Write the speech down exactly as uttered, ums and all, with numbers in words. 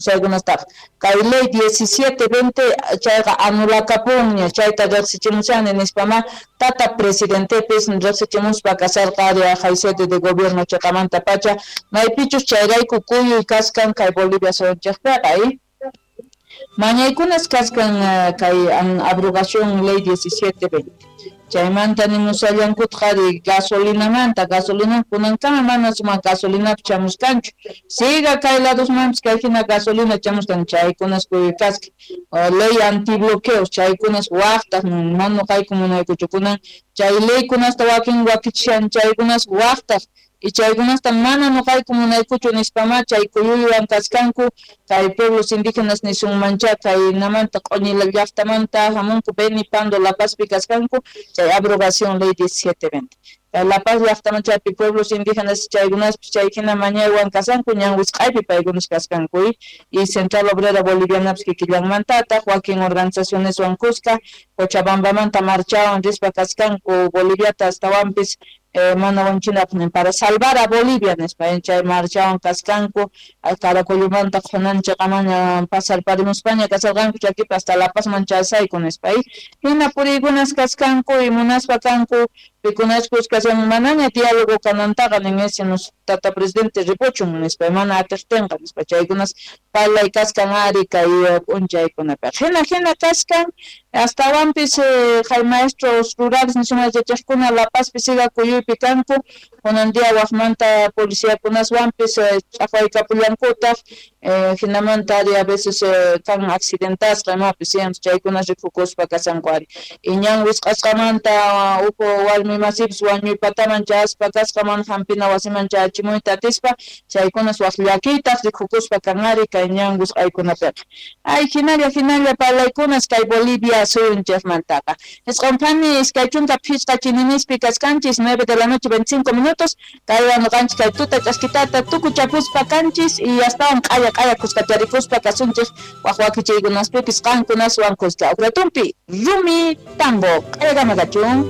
Chaykunastaqa kay ley diecisiete veinte chayqa anulakapunña, chayta riqsichimushani nispamá tata presidentepis riqsichimuspa kasharqa ari sede de gobierno chiqamantapacha, maypichus chayrayku kuyuy kaskan kay Bolivia suyunchikpiqa. Mañaykunas kaskan kay abrogación ley diecisiete veinte. Chaymanta nimushallankutaq ari gasolinamanta, gasolina kunankama mana sumaq gasolinapi chamuskanchu, siga kay ladosmanpis kay hina gasolina chamuskan, chaykunas kuyuy kaskan. Ley antibloqueos chaykunas waqtaq mana nuqayku munaykuchu kunan chay leykunasta wakin wakichishan chaykunas waqtaq y chaykunasta mana nuqayku munaykuchu nispamá chay kuyuywan kaskanku kay pueblos indígenas nisunmancha kaynamanta Q'uñila llaqtamanta hamunku Beni, Pando, La Pazpi kaskanku chay abrogación ley diecisiete veinte. La Paz llaqtaman chaypi pueblos indígenas chaykunaspis chay hina mañaywan kashanku ñan wisq'aypi paykunas kaskanku y Central Obrera Bolivianapis kikillanmantataq wakin organizacioneswan kuska Cochabambamanta marchawan rispa kaskanku Boliviata astawanpis mana wanchinapaq para salvar a Bolivia nispa chay marchawan kaskanku Caracollumanta qhunanchikamaña pasarparimuspaña kasharqanku chakipi hasta La Pazman chasayku nispa hina puriykunas kaskanku y munaspa kanku pikunachkus kashan manaña diálogo kanantaqa nin ese tata presidente ripuchun nispa mana atiqtinqa nispa chaykunas parlay kaskan ari kay p'unchaykunapiqa hina hina kaskan astawanpis hay maestros rurales nisuma yachachiqkuna La Pazpi siga kuyuypi kanku kunan día waqmanta policiakunaswanpis ch'aqwaykapullankutaq hinamanta ari a veces kan accidentasqa imapis chaykunas rikukuspa kashanku ari y ñan wisq'asqamanta huk warmi masipis wañuypataman chayaspa kasqa mana hampina wasiman chayachimuyta atispa chaykunas waq llakiytaq rikukuspa kan ari kay ñan wisq'aykunapiqa. Ay hinalla hinalla parlaykunas kay Bolivia suyunchikmantaqa. Isqunphani iskay chunka phisqa chininispi kaskanchis nueve de la noche veinticinco minutos kaywan nuqanchik kay tuta ch'askitata tukuchapuspa kanchis y astawan q'aya q'aya kuskacharikuspa kasunchik waq wakichiykunaspipis qankunaswan kuska. Uqratumpi rumi tambo q'ayakama kachun.